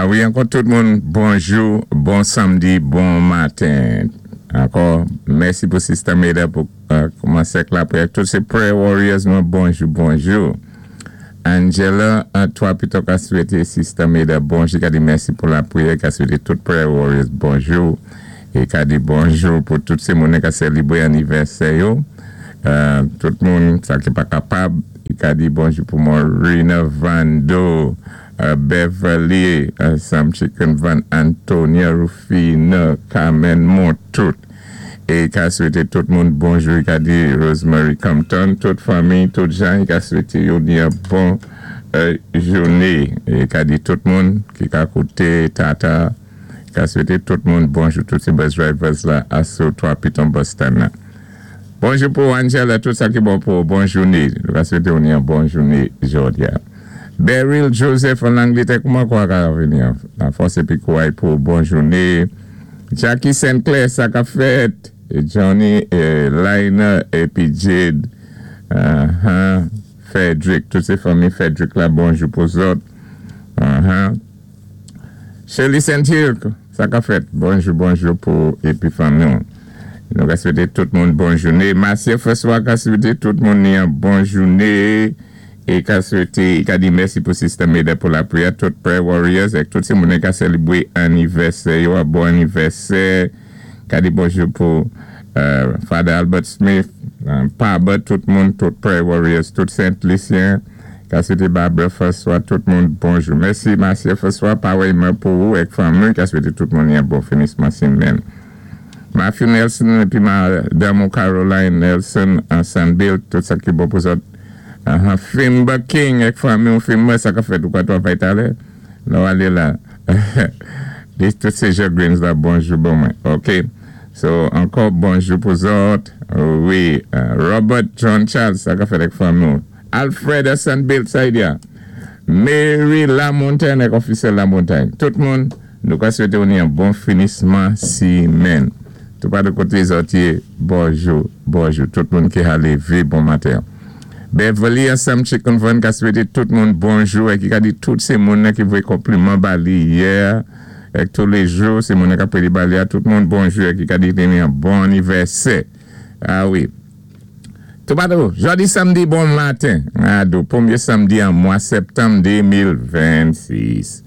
Wi, ankò tout moun, bonjou, bon samdi, bon maten. Ankò, mèsi pou Sister Meda pou koumansé ak lapriyè. Tout sé prayer warriors mwen, bonjou, bonjou. Angela, 3 pito ka swété Sister Meda bonjou, ka di mèsi pou lapriyè, ka swété tout prayer warriors bonjou é ka di bonjou pou tout sé moun ka sélibwé anivèsè yo. Tout moun sa ki pa kapab, ka di bonjou pou Morina Vando, Beverly, Sam Chicken Van, Antonia Rufina, Carmen Montout. É ka swété tout moun bonjou, ka di Rosemary Compton, tout fanmi, tout jan, ka swété yo ni yon bon jouné. É ka di tout moun ki ka kouté Tata, ka swété tout moun bonjou, tout sé bus drivers la, asou 3 Piton bus stand la. Bonjou pou Angela, tout sa ki bon pou bon jouné. Nou ka swété ou ni yon bon jouné jodi a. Beryl Joseph an Angletè, kouman kwa ka vini an fòs épi kouway pou bon jouné. Jackie St. Clair, sa ka fèt. Johnny, Lina, épi Jade, Frederick, tout sé fanmi Frederick la, bonjou pou zòt. Shirley St. Hill, sa ka fèt. Bonjou, bonjou pou épi fanmi. Nou ka swété tout moun bon jouné. Marcia François ka swété tout moun ni yon bon jouné. É ka swété, ka di mèsi pou Sister Meda pou lapriyè, tout prayer warriors, é tout sé moun ka sélibwé anivèsè yo, bon anivèsè. Ka di bonjou pou Father Albert Smith, Pabert, tout moun, tout prayer warriors, tout Saint Lucien. Ka swété Barbara François, tout moun bonjou. Mèsi Marcia François, parèyman pou ou ak fanmi, ka swété tout moun yon bon finisman simenn. Matthew Nelson épi Madame Caroline Nelson an Sandbill, tout sa ki bon pou zòt. Fimba King ak fanmi ou Fimba, sa ka fèt ou pa travay talè? Nou alé la. Di tout sé Jean Greens la bonjou bon mwen. Ok. So, ankò bonjou pou zòt. Wi, Robert John Charles, sa ka fèt ak fanmi ou. Alfred Sandbill, sa y di a. Mary Lamontagne ak Officiel Lamontagne. Tout moun, nou ka swété ou ni yon bon finisman simenn. Tout pa de koté zòt yé, bonjou, bonjou. Tout moun ki ha lévé bon maten. Beverly ansanm Chicken Van ka swété tout moun bonjou é ki ka di tout sé moun ki voyé konpliman ba li yè ak tou lé jou, sé moun ki ap ba li a tout moun bonjou é ki ka di ni yon bon anivèsè. A wi. Toupatou, jodi samdi bon maten. Ado, pwémyé samdi an mwa septanm 2026.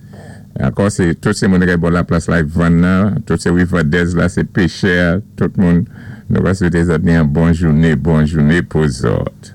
Ankò sé tout sé moun ki bò la plas la vann nan, tout sé Riverdez la, sé pechè, tout moun nou va swété zòt ni yon bon jouné, bon jouné pou zòt.